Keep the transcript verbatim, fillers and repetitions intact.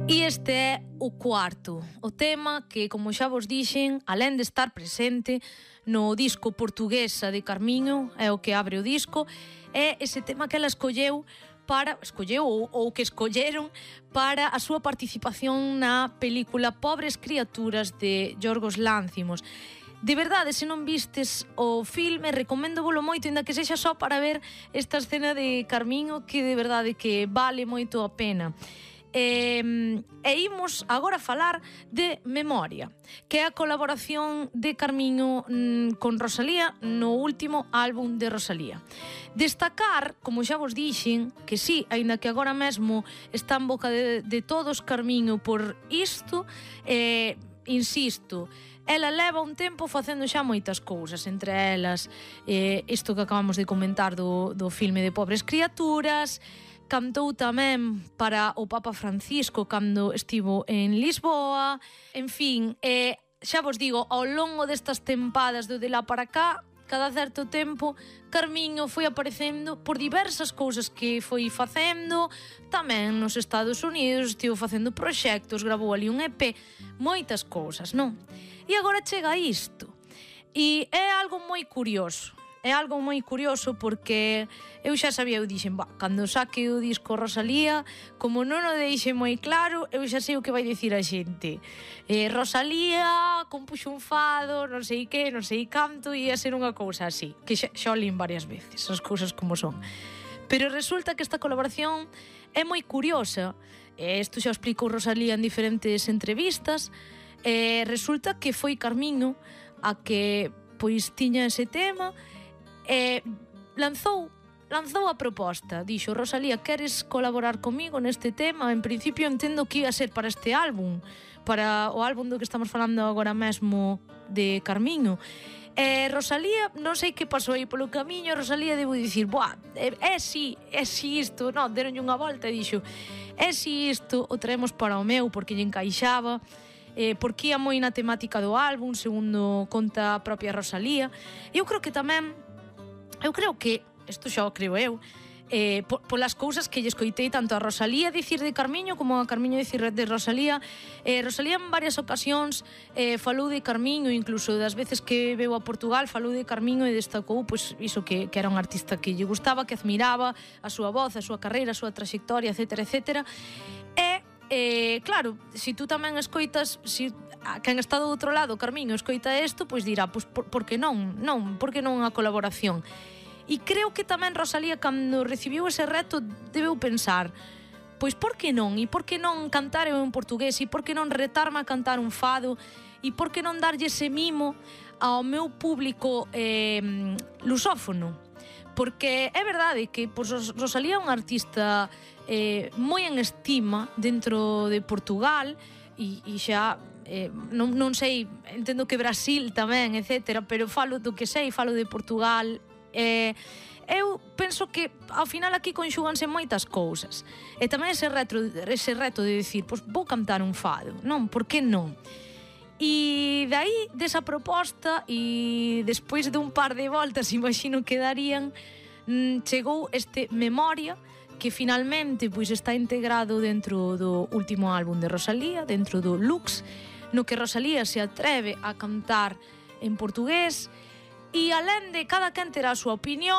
E este é o cuarto, o tema que, como xa vos dixen, alén de estar presente no disco Portuguesa de Carmiño, é o que abre o disco, é ese tema que ela escolleu para, escolleu ou, ou que escolleron para a súa participación na película Pobres Criaturas de Yorgos Lánthimos. De verdade, se non vistes o filme, recoméndovolo moito, ainda que sexa só para ver esta escena de Carmiño, que de verdade que vale moito a pena. E, e imos agora falar de Memoria, que é a colaboración de Carmiño mm, con Rosalía no último álbum de Rosalía. Destacar, como xa vos dixen, que sí, aínda que agora mesmo está en boca de, de todos Carmiño por isto, eh, insisto, ela leva un tempo facendo xa moitas cousas, entre elas eh, isto que acabamos de comentar do, do filme de Pobres Criaturas. Cantou tamén para o Papa Francisco cando estivo en Lisboa. En fin, eh, xa vos digo, ao longo destas tempadas do de lá para cá, cada certo tempo, Carmiño foi aparecendo por diversas cousas que foi facendo. Tamén nos Estados Unidos estivo facendo proxectos, gravou ali un E P, moitas cousas, non? E agora chega isto. E é algo moi curioso. É algo moi curioso porque eu xa sabía, eu dixen, bah, cando saque o disco Rosalía, como non o deixe moi claro, eu xa sei o que vai dicir a xente. Eh, Rosalía compuxo un fado, non sei que, non sei canto, e ia ser unha cousa así, que xa, xa olín varias veces, as cousas como son. Pero resulta que esta colaboración é moi curiosa, e isto xa explicou Rosalía en diferentes entrevistas, e resulta que foi Carmiño a que pois tiña ese tema. Eh, lanzou lanzou a proposta, dixo: Rosalía, queres colaborar comigo neste tema? En principio entendo que ia ser para este álbum, para o álbum do que estamos falando agora mesmo de Carmiño. Eh, Rosalía, non sei que pasou aí polo camiño, Rosalía debo dicir, buah, é, é si, é si isto, non, deronlle unha volta e dixo, é si isto, o traemos para o meu porque lle encaixaba, eh, porque ia moi na temática do álbum, segundo conta a propia Rosalía. Eu creo que tamén Eu creo que, isto xa o creo eu, eh, po, polas cousas que lle escoitei tanto a Rosalía dicir de Carmiño como a Carmiño dicir de Rosalía. eh, Rosalía en varias ocasións eh, falou de Carmiño, incluso das veces que veu a Portugal falou de Carmiño e destacou pois, iso que, que era un artista que lle gustaba, que admiraba a súa voz, a súa carreira, a súa traxectoria, etcétera, etcétera. E, eh, claro, se si tú tamén escoitas, si a quen está do outro lado, Carmiño, escoita isto, pois dirá, pois por, por que non? Non, por que non a colaboración? E creo que tamén Rosalía, cando recibiu ese reto, debeu pensar, pois por que non? E por que non cantar eu en portugués? E por que non retarme a cantar un fado? E por que non darlle ese mimo ao meu público eh, lusófono? Porque é verdade que pois, Rosalía é unha artista eh, moi en estima dentro de Portugal, e, e xa eh, non, non sei, entendo que Brasil tamén, etcétera, pero falo do que sei, falo de Portugal. Eh, eu penso que ao final aquí conxúganse moitas cousas, e tamén ese reto, ese reto de dicir, pois vou cantar un fado, non? Por que non? E dai desa proposta, e despois de un par de voltas imagino que darían, chegou este Memoria, que finalmente pois está integrado dentro do último álbum de Rosalía, dentro do Lux, no que Rosalía se atreve a cantar en portugués. E alén de cada quen terá a súa opinión,